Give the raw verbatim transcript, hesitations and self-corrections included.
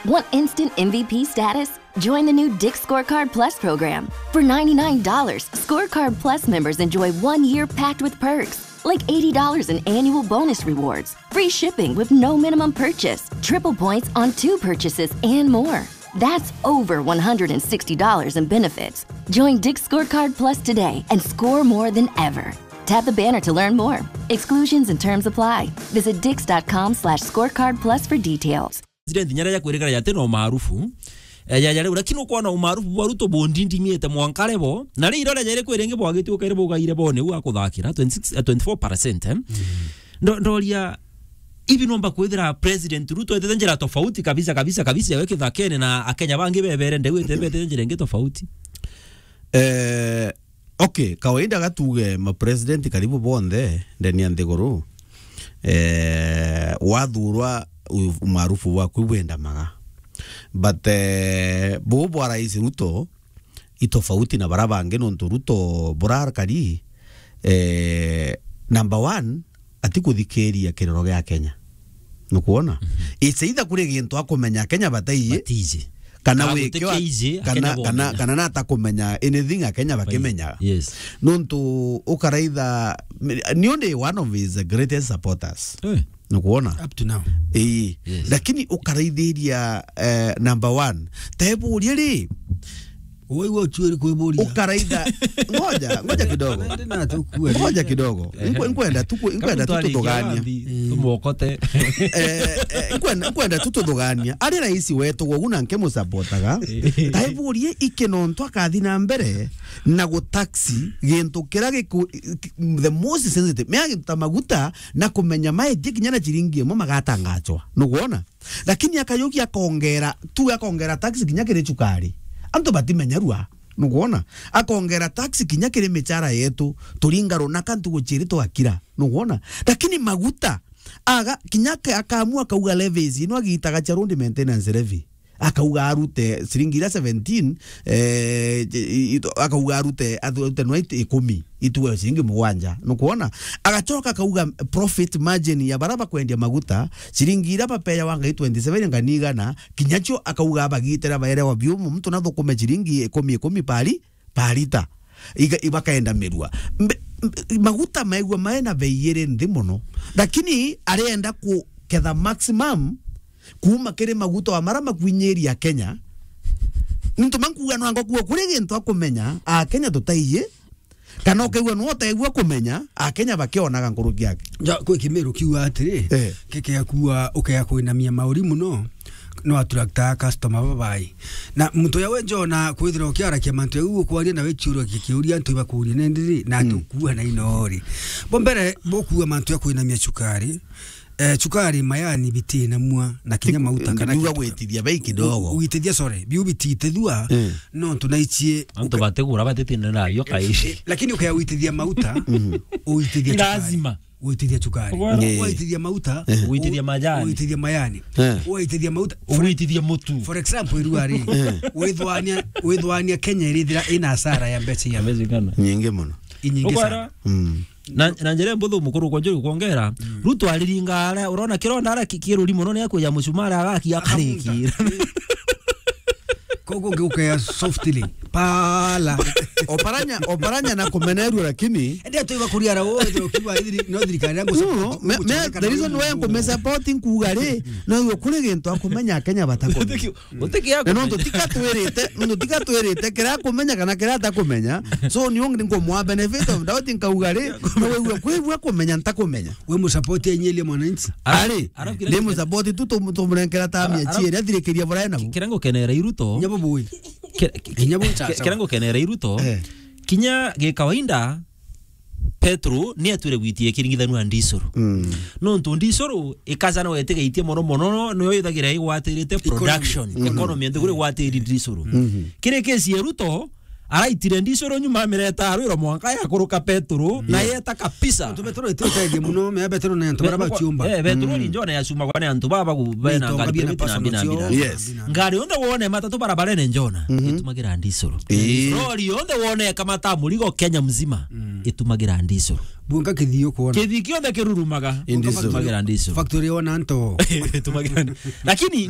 Want instant M V P status? Join the new Dick's Scorecard Plus program. For ninety-nine dollars, Scorecard Plus members enjoy one year packed with perks, like eighty dollars in annual bonus rewards, free shipping with no minimum purchase, triple points on two purchases, and more. That's over one hundred sixty dollars in benefits. Join Dick's Scorecard Plus today and score more than ever. Tap the banner to learn more. Exclusions and terms apply. Visit dicks.com slash scorecard plus for details. President nyarä ja kwä rä kara jatena umaarufu, eh, ja, ja rä u, lakini ukwona umaarufu bwa Ruto bundindimiä te mwanka rebo, na rä irore ja rä kwä rä ngä bwagä tuä kairä bugaire bone u akuthakira twenty-six, eh, twenty-four percent, eh? Ndo-, ndoria, ibi nomba kwithira President Ruto etete njira tofauti kabisa, kabisa, kabisa, we kithakene na Akenya bangi bebere ndeu etete njira ingi tofauti? Eh, okay, kawaida gatuge ma president karibu bonthe ndani ya nthiguru, eh, wathurwa u-, umaarufu bwaku bwendamaga. But, eh, buu bwa Rais Ruto, i tofauti na bara bangi, nontu Ruto burakari, eh, number one, atikuthikiria kiroro gia Kenya. Nukwona? Mhm. It's either kuri gintu akumenya Akenya bataiyi, Batiji. kana Kana wikio, gutikiji, kana, Akenya kana, bomenya. kana natakumenya anything Akenya bakimenya. Yes. Nontu ukaraitha, niu ndi one of his greatest supporters. Eh. Nukwona? Up to now. Ii. Yes. Lakini ukaraithiria, eh, number one. Teburie ri, Waigua uchuiri kwiburia. Ukaraitha. Ngoja, ngoja kidogo. Ngoja kidogo. Ehe. Nkwe-, nkwenda tu ku-, nkwenda tu tuthugania. Tumuokote. Eh, eh, nkwenda, nkwenda tu tuthugania. Ari rais wetu, gwogu na nkimusapotaga. Eh. Taiburie iki nontu akathi na mbere na gutaxi gintu kira giku-, the most sensitive. Mea gintu ta maguta na kumenya maendia kinya na ciringi imwe magatangachwa. Nukwona? Lakini akayukia akongera, tu akongera tax kinya kiri cukari. Antu batimenyerua. Nukwona? Akongera tax kinya kiri michara yetu. Turinga runaka ntugu ciiri twakira. Nukwona? Lakini maguta, aga, kinya ke-, akaamua akauga levies, ino agitaga cia road maintenance levy. Akauga arute ciringi iria seventeen, eh, i-, i-, akauga arute, arute nwa it-, ikumi, itue ciringi mugwanja. Nukwona? Agacoka akauga profit margin ya bara bakwendia maguta, ciringi iria bapeawa ngai twenty-seven ngani igana, kinya cio akauga abagitira baerewa biumu, muntu nathukume ciringi ikumi, ikumi pari, parita. Iga-, ibakaenda mirua. Mbe-, mbe-, maguta maigua maena bei iri nthi mono. Lakini arenda kuketha maximum kuuma kiri maguta wa mara makwinyiria Kenya. Nontu mankuga no anga kuo kuri gintu akumenya, Akenya tutaiyi, kana ukaigua no utegua kumenya, Akenya bakionaga nkuruki yake. Ja, kwi Kimiru kiuga atiri, Eh. keke akua ukea kwinamia mauri muno, no attracta customer babai. Na muntu ya we njona kwithira ukiarakia mantu ya u ukwaria na we ciuria kikiuria antu ibakuria nendiri, na Mm. tukua na inori. Bo mbere, bukua mantu ya kwinamia cukari, eh, cukari, mayani, biti na mua, na kinya mauta kana niuga kintu gwitithia bei kidogo. U-, gwitithia, sorry, biu bititithua, Mm. nontu naichie Antu uka- batigura batitinda nayo kai. Eh, lakini ukaya gwitithia mauta, Mhm. Uitithia Ni cukari. Lazima. Uitithia cukari. Ugwara. Eh. Waitithia mauta, Eh. Uitithia u-, majani. Uitithia mayani. Eh. Waitithia mauta. Uitithia mutu. For example, iruari. Eh. Withwania, withwania Kenya irithira ina hasara ya mbeca ya Amazing sana. Nyingi muno. Inyingi Ugwara. Sana. Mm. Na, na njira mbuthu mukuru kwa njuri kwongera, Mm. Ruto ariringa ara, urona kironda ara ki-, kiruri muno ni akuja mucumari agaki Akamunga. Akariki. Kogo ngiukea softly. Pala. Oparanya, Oparanya na kumenerua lakini. Ende atuiba kuriara wo, ende ukiwa ithiri, no thirikari yangu No, support, no, me, me, kuchangika the na reason why nkume support nkuga ri, no yo kuri gintu akumenya Kenya batakumenya. Utiki-, utiki Na no akumenya. Tutika twirite, no tutika twirite kira akumenya kana kira atakumenya. So ni ungi nkumwa benefit of doubt nkauga ri, no wewe kwigua kumenya ntakumenya. We mu support enyelia mwananchi. Ari, Arabu kira ndi mu support tu tum-, tumurenkera tamia Ara-, chiere athirikiria bora na. Kira ngukenera iruto. Nyabo boy. Kira, ki-, Nyabo ki-, chasa. Kira ngukenera iruto. Eh. Kinya gi kawaida, petrol ni atwire gwitia ikiringithanua na ndisuru. Mm. Nontu ndisuru ikaja no etigaitie mono mono, no yo ithagira igwatirite Economy. Production, Economy. Economy nthiguru igwatiri ndisuru. Mhm. Kiri kesi ya Ruto, araitire ndisuru nyuma amireta arwiro mwanka ya kuruka petrol, na Yeah. yeta kabisa. Nontu petrol ititeithia muno, me petrol ni antu bara Be-, bachiumba. Eh, petrol Mm. njona yacumagwa ni antu baba ku-, bena Nitonga ngari bina bina personal bina cio. Bina. Yes. Ngari yonthe wone matatu barabarene njona, Mhm. itumagira ndisuru. Eh. Lori yonthe wone ikamata murigo Kenya mzima, Mm. itumagira ndisuru. Bunga kithio kuona. Kithi kionthe kirurumaga, Indisuru. Itumagira ndisuru. Factory wona nto. Itumagira ndi-, lakini